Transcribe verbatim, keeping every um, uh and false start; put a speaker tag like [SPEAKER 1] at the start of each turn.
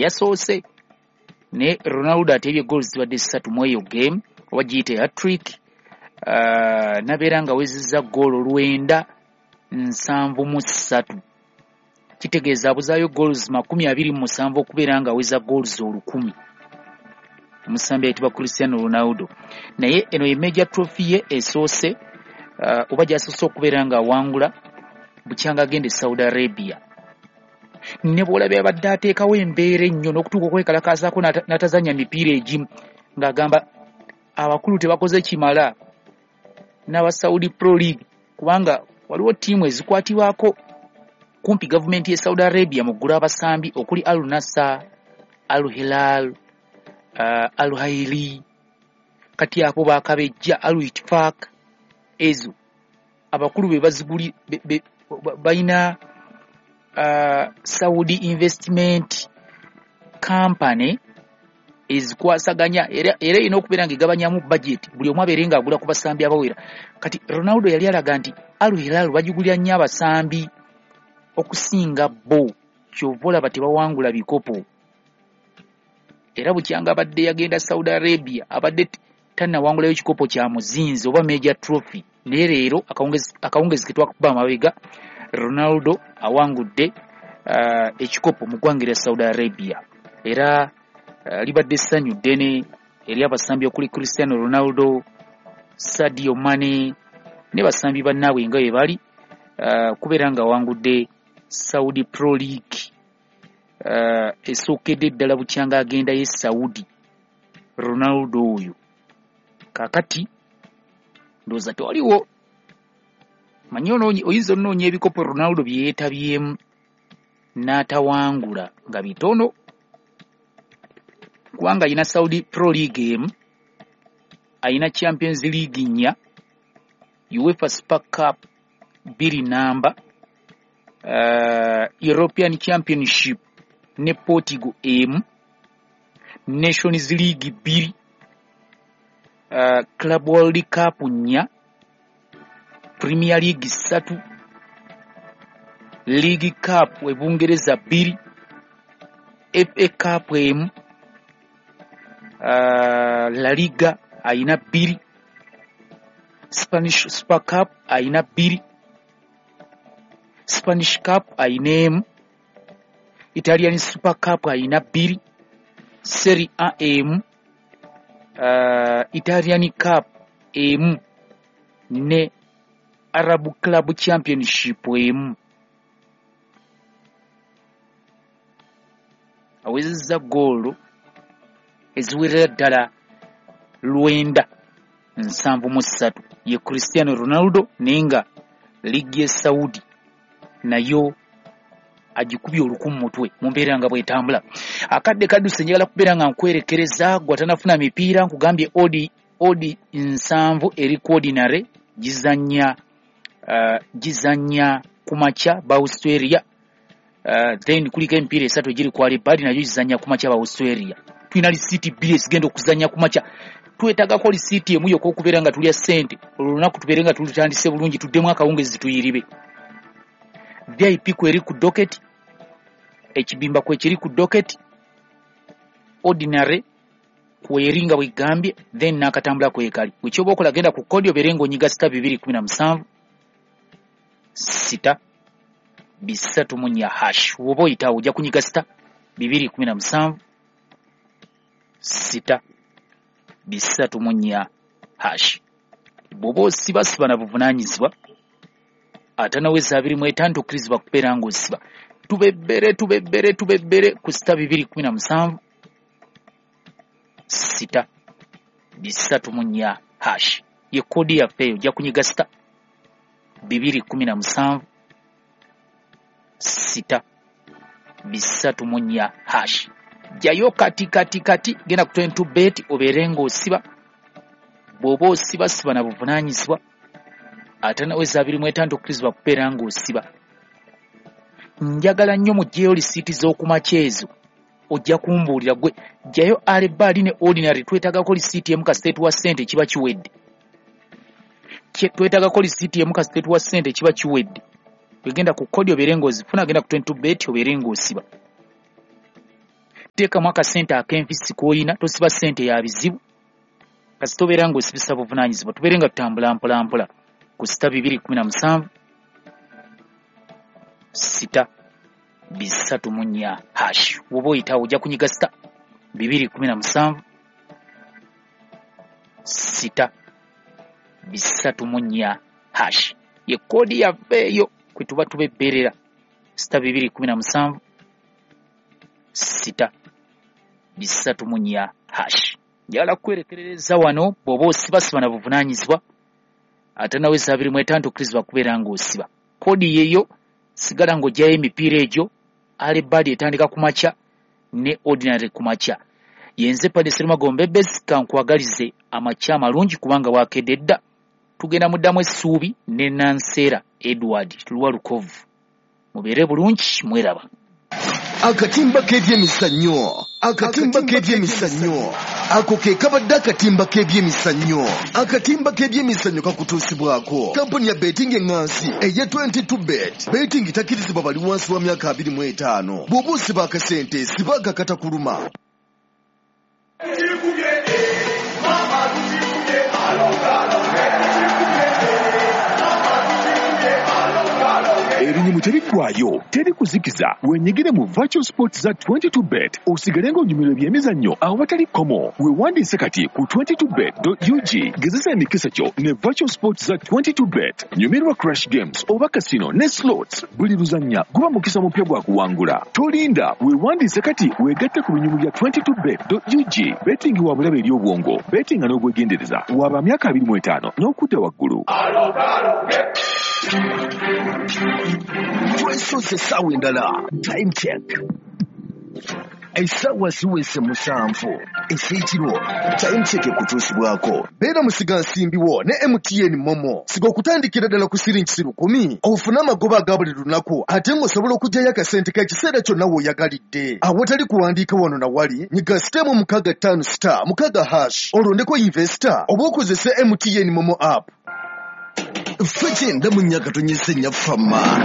[SPEAKER 1] Yeyasoose ne Ronaldo ateebye goals zibadde ssatu mu eyo game, oba giyite hat-trick, uh, nabeera nga awezezza goolo lwenda nsanvu mu ssatu. Kitegeeza abuzaayo goals makumi abiri mu musanvu okubeera nga aweza goals olukumi, omusambi ayitibwa Cristiano Ronaldo. Naye eno ye major trophy ye esoose, uh, oba gy'asoose okubeera nga awangula bukyanga agenda e Saudi Arabia. Ne bw'olaba abadde ateekawo embeera ennyo n'okutuuka okwekalakaasaako n'atazannya mipiira egimu, ng'agamba abakulu tebakoze kimala n'aba Saudi Pro League, kubanga waliwo ttiimu ezikwatibwako kumpi gavumenti ye Saudi Arabia mu ggula abasambi okuli Al Nassr, Al Hilal, uh, Al Ahly, kati abo bakabejja Al Ittifaq. Ezo abakulu be baziguli balina uh, Saudi Investment Company ezikwasaganya, era erina okubeera ng'egabanyamu budget buli omu abeere ng'agula ku basambi abawera. Kati Ronaldo yali alaga nti Al Hilal bagigulira nnyo abasambi okusinga bo, kyova olaba tebawangula bikopo. Era bukyanga abadde yagenda Saudi Arabia abadde tannawangulayo kikopo kya muzinzi oba major trophy, naye leero akawungezi ke twakuba amabega Ronaldo awangudde uh, ekikopo mu ggwanga erya Saudi Arabia. Era uh, libadde essanyu ddene eri abasambi okuli Cristiano Ronaldo, Sadio Mane ne basambi bannaabwe nga bwe bali, uh, kubeera nga awangudde Saudi Pro League uh, esookedde ddala bukyanga agenda ye Saudi Ronaldo oyo. Kaakati ndowooza tewaliwo manyi oyinza onoonya ebikopo Ronaldo bye yeetabyemu n'atawangula nga bitono, kubanga ayina Saudi Pro League emu, ayina Champions League nnya, UEFA Super Cup bbiri namba, uh, European Championship ne Portugal emu, Nations League bbiri, uh, Club World Cup nnya, Premier League ssatu, League Cup e Bungereza bbiri, F A Cup emu, uh, La Liga ayina bbiri, Spanish Super Cup ayina bbiri, Spanish Cup ayina emu, Italian Super Cup ayina bbiri, Serie A emu, uh, Italian Cup emu ne Arab Club Championship emu. Awezezza goolo eziwerera ddala lwenda nsanvu mu ssatu ye Cristiano Ronaldo, naye nga liigi ye Saudi nayo agikubye oluku mu mutwe mu mbeera nga bw'etambula. Akadde kadduse, njagala kubeera nga nkwerekereza gwe atanafuna mipiira. Nkugambye odi odi nsanvu eri ordinary gizannya uh, gizannya ku makya ba Australia, uh, then kuliko emipiira esatu egiri ku Alibadi nayo gizannya ku makya ba Australia. Tulina lisiiti bbiri ezigenda okuzannya ku makya, twetagako lisiiti emu yokka okubeera nga tulya ssente olwo olunaku tubeere nga tulutandise bulungi, tuddemu akawungezi tuyiribe. V I P kweri ku docket, ekibimba kwekiri ku docket, ordinary kweri nga bwegambye, then n'akatambula kwekali. Wekyoba okola genda ku kodi obeere ng'onyiga sita bibiri kumi na musanvu sita bisatu mu nnya hash. Woba oyitawo ojja kunyiga sita bibiri kumi na musanvu sita bisatu mu nnya hash. Bw'oba osibasiba na buvunaanyizibwa atanaweza abiri mu etaano tokkirizibwa kubeera ng'osiba. Tubebbere tubebbere tubebbere ku sita bibiri kumi na musanvu sita bisatu mu nnya hash. Ye kodi yaffe eyo, ojja kunyiga sita bibiri kumi na musanvu sita bisatu mu nnya hash. Jjayo kati kati kati, genda ku twenty two bet obeere ng'osiba. Bw'oba osiba siba na buvunaanyizibwa atanaweza abiri mu etaano tokkirizibwa kubeera ng'osiba. Njagala nnyo muggyeyo lisiiti z'okumakya ezo, ojja kumbuulira gwe jjayo Alibadi ne ordinary, twetagako lisiiti emu kasita etuwa ssente kiba kiwedde. Twetagako lisiiti emu kasita etuwa ssente kiba kiwedde. Wegenda ku kodi obeere ng'ozifuna, genda ku twenty two bet obeere ng'osiba. Teekamu akasente ak'enfisi k'olina, tosiba ssente ya bizibu. Kasita obeera ng'osibisa buvunaanyizibwa, tubeere nga tutambula mpola mpola ku sita bibiri kumi na musanvu sita bisatu mu nnya hash. Woba oyitawo ojja kunyiga sita bibiri kumi na musanvu sita bisatu mu nnya hash. Ye koodi yaffe eyo kwe tuba tubebberera, sita bibiri kumi na musanvu sita bisatu mu nnya hash. Njagala kukwerekerereza wano bw'oba osibasiba na buvunaanyizibwa, ate nawe abiri mu etaano tokkirizibwa kubeera ng'osiba. Koodi yeeyo, sigala ng'oggyayo emipiira egyo. Alebadi etandika ku makya ne ordinary ku makya. Yenze Padde Serumagombe Besi, kankwagalize amakya amalungi kubanga wakedde dda. Tugenda muddamu essuubi ne Nanseera Edward Tulwa Lukovu. Mubeere bulungi, mweraba.
[SPEAKER 2] Akatimba k'ebyemizannyo, akatimba k'ebyemizannyo, ako ke kabadde akatimba k'ebyemizannyo. Akatimba k'ebyemizannyo kakutuusibwako kampuni ya betting eŋŋansi eya twenty-two bet. Betting takkirizibwa bali wansi wa myaka abiri mu etaano. Bw'oba osiba akasente, siba akakatakuluma.
[SPEAKER 3] Ebinyumu tebiggwayo, teri kuzikiza. Wenyigire mu virtual sports za twenty-two bet osigale ng'onyumirwa ebyemizannyo awatali kkomo. Weewandiise kati ku twenty-two bet dot U G. Gezesa emikisa gyo ne virtual sports za twenty-two bet. Nyumirwa crash games oba casino ne slots. Buli luzannya guba mukisa mupya gwa kuwangula. Tolinda, weewandiise kati weegatte ku binyumu bya twenty-two bet dot U G. Betting wa bulabe eri obwongo, betting n'obwegendereza. Waba myaka abiri mu etaano n'okudda waggulu.
[SPEAKER 2] Twesoose essaawa endala, time check. Essaawa ziweze musanvu ez'ekiro, time check ekutuusibwako. Beera musigansimbi wo ne M T N Momo. Siga okutandikira ddala ku siringi lukumi ofune amagoba aga buli lunaku, ate ng'osobola okuggyayo akasente k'ekiseera kyonna w'oyagalidde. Awatali kuwandiika wano na wali, nyiga sitemu mukaaga ttaano star mukaaga hash olondeko investor oba okozese M T N Momo app. Ffe kyenda mu nnya katonyese nnyaffe amma.